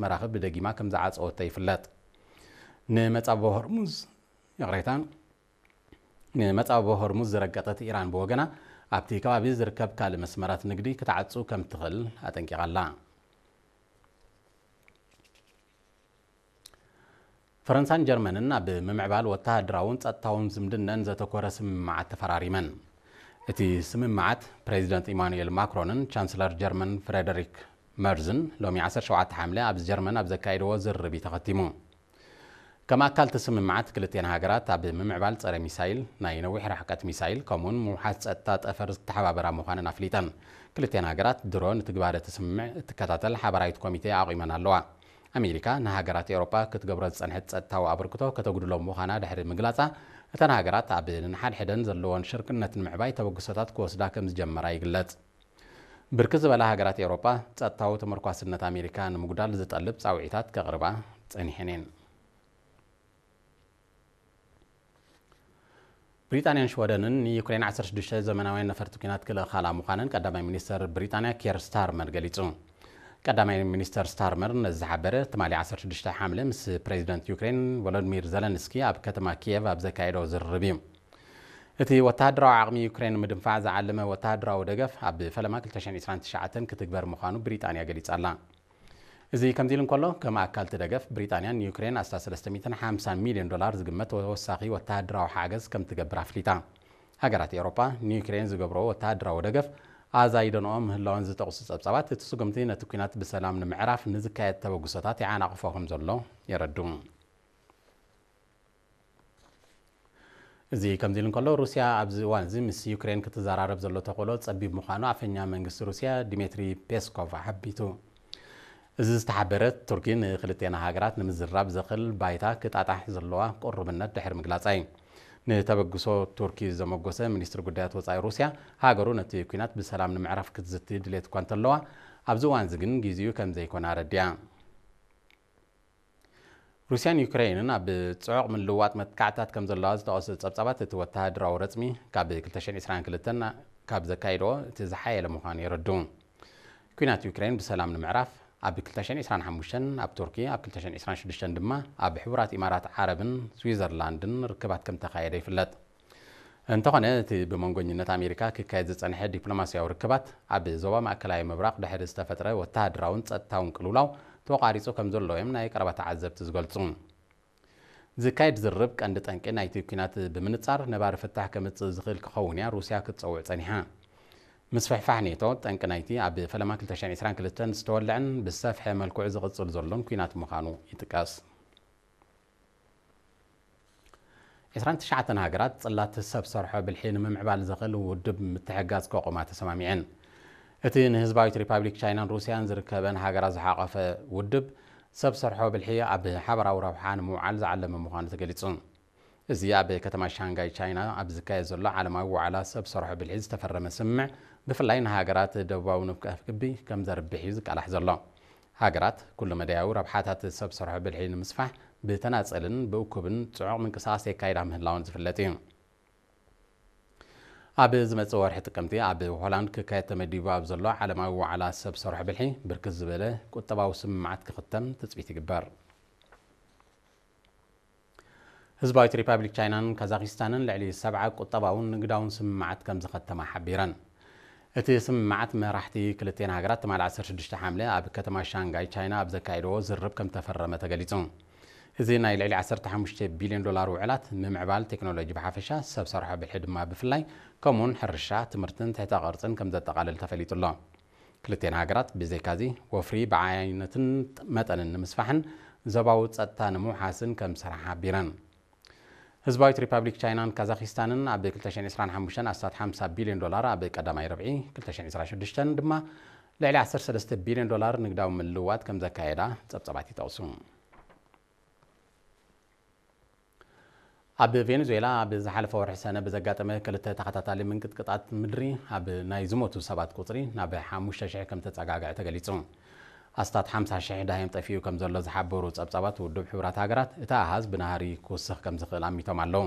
መራኽብ ብደጊማ ከም ዝዓጸወቶ ይፍለጥ። ንመጻብቦ ሆርሙዝ፣ ይቕሬታ፣ ንመጻብቦ ሆርሙዝ ዝረገጠት ኢራን ብወገና፣ ኣብቲ ከባቢ ዝርከብ ካልእ መስመራት ንግዲ ክትዓጹ ከም ትኽእል ኣጠንቂቓ ኣላ። ፈረንሳን ጀርመንን ኣብ ምምዕባል ወተሃደራውን ጸጥታውን ዝምድነን ዘተኮረ ስምምዓት ተፈራሪመን። እቲ ስምምዓት፣ ፕሬዚደንት ኢማኑኤል ማክሮንን ቻንስለር ጀርመን ፍሬደሪክ መርዝን ሎሚ ዓሰርተ ሸውዓተ ሓምለ ኣብ ጀርመን ኣብ ዘካየድዎ ዝርርብ እዩ ተኸቲሙ። ከም ኣካል እቲ ስምምዓት፣ ክልቴን ሃገራት ኣብ ምምዕባል ጸረ ሚሳይል፣ ናይ ነዊሕ ርሕቀት ሚሳይል፣ ከምኡውን ምውሓስ ጸጥታ ጠፈር ዝተሓባበራ ምዃነን ኣፍሊጠን። ክልቴን ሃገራት ድሮ ንትግባረ እቲ ስምምዕ እትከታተል ሓባራዊት ኮሚቴ ኣቑመን ኣለዋ። ኣሜሪካ ንሃገራት ኤውሮጳ ክትገብሮ ዝጸንሐት ጸጥታዊ ኣበርክቶ ከተጉድሎ ምዃና ድሕሪ ምግላጻ፣ እተን ሃገራት ኣብ ነንሓድሕደን ዘለወን ሽርክነት ንምዕባይ ተበግሶታት ክወስዳ ከም ዝጀመራ ይግለጽ። ብርክት ዝበላ ሃገራት ኤውሮጳ፣ ጸጥታዊ ተመርኳስነት ኣሜሪካ ንምጉዳል ዝጠልብ ጻውዒታት ከቕርባ ጸኒሐን እየን። ብሪጣንያን ሽወደንን ንዩክሬን ዓሰርተ ሽዱሽተ ዘመናውያን ነፈርቲ ኲናት ክልእኻላ ምዃነን ቀዳማይ ሚኒስተር ብሪጣንያ ኬር ስታርመር ገሊጹ። ቀዳማይ ሚኒስተር ስታርመር ነዚ ዝሓበረ ትማሊ ዓሰርተ ሽዱሽተ ሓምለ ምስ ፕሬዚደንት ዩክሬን ቮሎዲሚር ዘለንስኪ ኣብ ከተማ ኪየቭ ኣብ ዘካየዶ ዝርርብ እዩ። እቲ ወተሃደራዊ ዓቕሚ ዩክሬን ንምድንፋዕ ዝዓለመ ወተሃደራዊ ደገፍ ኣብ ፈለማ ክልተ ሽሕን ዕስራን ትሽዓተን ክትግበር ምዃኑ ብሪጣንያ ገሊጻ ኣላ። እዚ ከምዚ ኢሉ እንከሎ፣ ከም ኣካል እቲ ደገፍ፣ ብሪጣንያ ንዩክሬን ኣስታት ሰለስተ ሚእትን ሓምሳን ሚልዮን ዶላር ዝግመት ተወሳኺ ወተሃደራዊ ሓገዝ ከም ትገብር ኣፍሊጣ። ሃገራት ኤውሮጳ ንዩክሬን ዝገብርኦ ወተሃደራዊ ደገፍ ኣዛይደንኦ ምህላወን ዝጠቕሱ ጸብጻባት፣ እቲ ስጉምቲ ነቲ ኲናት ብሰላም ንምዕራፍ ንዝካየድ ተበግሶታት ይዓናቕፎ ከም ዘሎ የረድኡ። እዚ ከምዚ ኢሉ እንከሎ፣ ሩስያ ኣብዚ እዋን እዚ ምስ ዩክሬን ክትዘራረብ ዘሎ ተኽእሎ ጸቢብ ምዃኑ ኣፈኛ መንግስቲ ሩስያ ዲሜትሪ ፔስኮቭ ኣሓቢቱ። እዚ ዝተሓበረ፣ ቱርኪ ንክልቴና ሃገራት ንምዝርራብ ዘኽእል ባይታ ክጣጣሕ ዘለዋ ቅሩብነት ድሕሪ ምግላጻ እዩ። ንተበግሶ ቱርኪ ዘመጎሰ ሚኒስትሪ ጉዳያት ወጻኢ ሩስያ፣ ሃገሩ ነቲ ኲናት ብሰላም ንምዕራፍ ክትዝቲ ድሌት እኳ እንተለዋ፣ ኣብዚ እዋን እዚ ግን ግዜኡ ከም ዘይኮነ ኣረዲኣ። ሩስያን ዩክሬንን ኣብ ጽዑቕ ምልውዋጥ መጥቃዕትታት ከም ዘለዋ ዝጠቐሱ ጸብጻባት፣ እቲ ወተሃደራዊ ረጽሚ ካብ ክልተ ሽሕን ዕስራን ክልተን ካብ ዘካየድዎ እቲ ዝሓየለ ምዃኑ የረድኡ። ኲናት ዩክሬን ብሰላም ንምዕራፍ፣ ኣብ ክልተ ሽሕን ዕስራን ሓሙሽተን ኣብ ቱርኪ፣ ኣብ ክልተ ሽሕን ዕስራን ሽዱሽተን ድማ ኣብ ሕቡራት ኢማራት ዓረብን ስዊዘርላንድን ርክባት ከም ተኻየደ ይፍለጥ። እንተኾነ፣ እቲ ብመንጎኝነት ኣሜሪካ ክካየድ ዝጸንሐ ዲፕሎማስያዊ ርክባት፣ ኣብ ዞባ ማእከላይ ምብራቕ ድሕሪ ዝተፈጥረ ወተሃደራውን ጸጥታውን ቅልውላው ተቋሪጹ ከም ዘሎ እዮም ናይ ቀረባ ተዓዘብቲ ዝገልጹ። ዝካየድ ዝርርብ ቀንዲ ጠንቂ ናይቲ ኲናት ብምንጻር ነባሪ ፍታሕ ከምጽእ ዝኽእል ክኸውን እያ ሩስያ ክትጸውዕ ጸኒሓ። ምስፍሕፋሕ ኔቶ ጠንቂ ናይቲ ኣብ ፈለማ ክልተ ሽሕን ዕስራን ክልተን ዝተወልዐን ብዝሰፍሐ መልክዑ ዝቕጽል ዘሎን ኲናት ምዃኑ ይጥቀስ። ዕስራን ትሽዓተን ሃገራት ጽላት ሰብ ሰርሖ ብልሒ ንምምዕባል ዘኽእል ውድብ ምትሕግጋዝ ከቑማ ተሰማሚዐን። እቲ ንህዝባዊት ሪፓብሊክ ቻይናን ሩስያን ዝርከበን ሃገራት ዝሓቖፈ ውድብ፣ ሰብ ሰርሖ ብልሒ ኣብ ሓበራዊ ረብሓ ንምውዓል ዝዓለመ ምዃኑ ተገሊጹ። እዚ ኣብ ከተማ ሻንጋይ ቻይና ኣብ ዝካየድ ዘሎ ዓለማዊ ዋዕላ ሰብ ሰርሖ ብልሒ ዝተፈረመ ስምምዕ፣ ብፍላይ ንሃገራት ደቡባዊ ንፍቀ ክቢ ከም ዘርብሕ እዩ ዝቃላሕ ዘሎ። ሃገራት ኩሉ መዳያዊ ረብሓታት ሰብ ሰርሖ ብልሒ ንምስፋሕ ብተናጸልን ብእኩብን ጽዑቕ ምንቅስቓስ የካይዳ ምህላወን ዝፍለጥ እዩ። ኣብ ዝመጽእ ወርሒ ጥቅምቲ ኣብ ሆላንድ ክካየድ ተመዲቡ ኣብ ዘሎ ዓለማዊ ዋዕላ ሰብ ሰርሖ ብልሒ፣ ብርክት ዝበለ ቁጠባዊ ስምምዓት ክኽተም ትጽቢት ይግበር። ህዝባዊት ሪፓብሊክ ቻይናን ካዛኪስታንን ልዕሊ ሰብዓ ቁጠባውን ንግዳውን ስምምዓት ከም ዝኸተማ ሓቢረን። እቲ ስምምዓት መራሕቲ ክልቴን ሃገራት ትማሊ ዓሰርተ ሽዱሽተ ሓምለ ኣብ ከተማ ሻንጋይ ቻይና ኣብ ዘካየድዎ ዝርርብ ከም ተፈረመ ተገሊጹ። እዚ ናይ ልዕሊ ዓሰርተ ሓሙሽተ ቢልዮን ዶላር ውዕላት፣ ምምዕባል ቴክኖሎጂ ብሓፈሻ፣ ሰብ ሰርሖ ብልሒ ድማ ብፍላይ፣ ከምኡውን ሕርሻ፣ ትምህርትን ትሕተ ቅርጽን ከም ዘጠቓልል ተፈሊጡ ኣሎ። ክልቴን ሃገራት ብዘይካዚ፣ ወፍሪ ብዓይነትን መጠንን ንምስፋሕን ዞባዊ ጸጥታ ንምውሓስን ከም ዝሰርሓ ሓቢረን። ህዝባዊት ሪፓብሊክ ቻይናን ካዛኪስታንን ኣብ ክልተ ሽሕን ዕስራን ሓሙሽተን ኣስታት ሓምሳ ቢልዮን ዶላር፣ ኣብ ቀዳማይ ርብዒ ክልተ ሽሕን ዕስራን ሽዱሽተን ድማ ልዕሊ ዓሰርተ ሰለስተ ቢልዮን ዶላር ንግዳዊ ምልውዋጥ ከም ዘካየዳ ጸብጻባት ይጠቕሱ። ኣብ ቬኔዙዌላ ኣብ ዝሓለፈ ወርሒ ሰነ ብዘጋጠመ ክልተ ተኸታታሊ ምንቅጥቅጣት ምድሪ፣ ኣብ ናይ ዝሞቱ ሰባት ቁጽሪ ናብ ሓሙሽተ ሽሕ ከም ተጸጋግዐ ተገሊጹ። ኣስታት ሓምሳ ሽሕ ዳህዮም ጠፊኡ ከም ዘሎ ዝሓበሩ ጸብጻባት ውድብ ሕቡራት ሃገራት፣ እቲ ኣሃዝ ብናህሪ ክውስኽ ከም ዝኽእል ኣሚቶም ኣለዉ።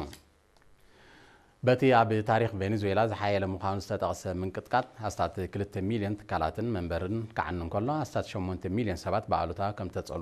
በቲ ኣብ ታሪኽ ቬኔዙዌላ ዝሓየለ ምዃኑ ዝተጠቕሰ ምንቅጥቃጥ፣ ኣስታት ክልተ ሚልዮን ትካላትን መንበርን ክዓኒ እንከሎ፣ ኣስታት ሸሞንተ ሚልዮን ሰባት ብኣሉታ ከም ተጸሉ